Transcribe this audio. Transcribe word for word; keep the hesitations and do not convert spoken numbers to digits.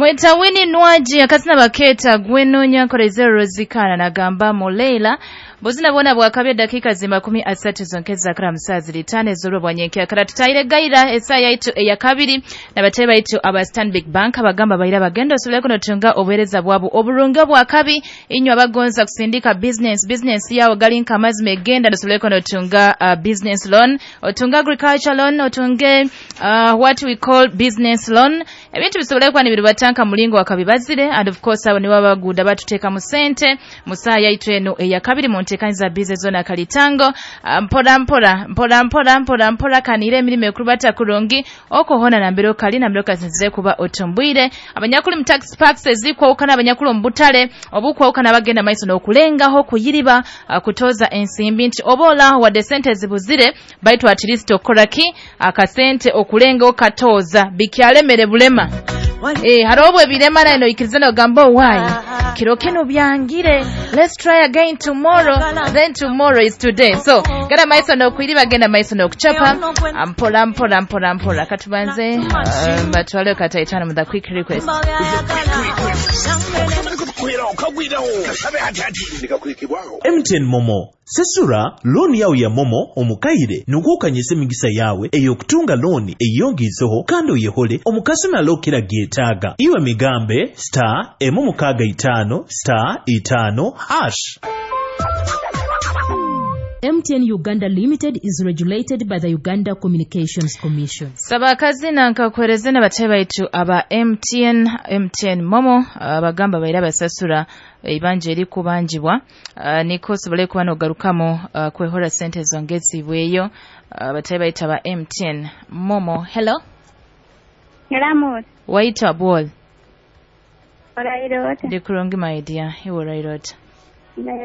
Bamweta Winnie Nwagi, akazina baketa Gwenonya Nkorezero Rozikana nagamba Muleila. Buzina bwona bwakabye dakika zi makumi asatu zonkeza kara musazi litane zoro bwanyenkya kara tutaire gaira esaya yaitu eyakabiri nabatebe baitu aba Stanbic Bank abagamba baira bagenda osobole kunotunga obuhereza bwabo oburunga bwakabi. Inywa abagonza kusindika business business yawe galinka amazima egenda osobole kunotunga uh, business loan, otunga agriculture loan, otunge uh, what we call business loan. Ebintu bisobole kuba nibirubatanka mulingo wakabibazire, and of course abo nibo baguda batuteeka mu sente musaa yaitu eno eyakabiri mu nteekaniza bize zona kalitango. Mpora mpora mpora mpora mpora mpora kanire emirimo ekurubata kurungi okohona nambere okali nambere okasinzire kuba otumbwire abanyakuli mu tax parks ezikwawukana, abanyakuli mu butale obukwawukana bagenda maiso n'okulengaho kuyiriba kutoza ensimbi nti oba olaho wadde sente zibuzire baitu at least okoraki akasente okulenga okatoza bikyalemere bulema. Eh, hariho ebirema nayo noikiriza nogamba why kiro kino byangire, let's try again tomorrow, then tomorrow is today. So genda maiso nokuiriba, genda maiso nokuchapa mpora mpora mpora mpora. Katubanze uh, batwale kataitano mu the quick request. M T N Momo sesura looni yawe ya Momo omukaire nugukanyisa emigisa yawe eyokutunga looni eyongizeho kandi oyehole omukasumi alokera gyetaaga. Iwe migambe star emu mukaaga itaano star itaano hash. M T N Uganda Limited is regulated by the Uganda Communications Commission. Sabakazi na nkakuhereze n'abatebe baitu aba M T N, M T N Momo abagamba baira basasura ibanja eri kubanjibwa uh, niko sobole kuba nogarukamo uh, kwehora sente zongezibweyo. Abatebe uh, baitu aba M T N Momo. Hello. Hello. Waita bol. Orairota. Ndikurungi my dear. Iwo orairota.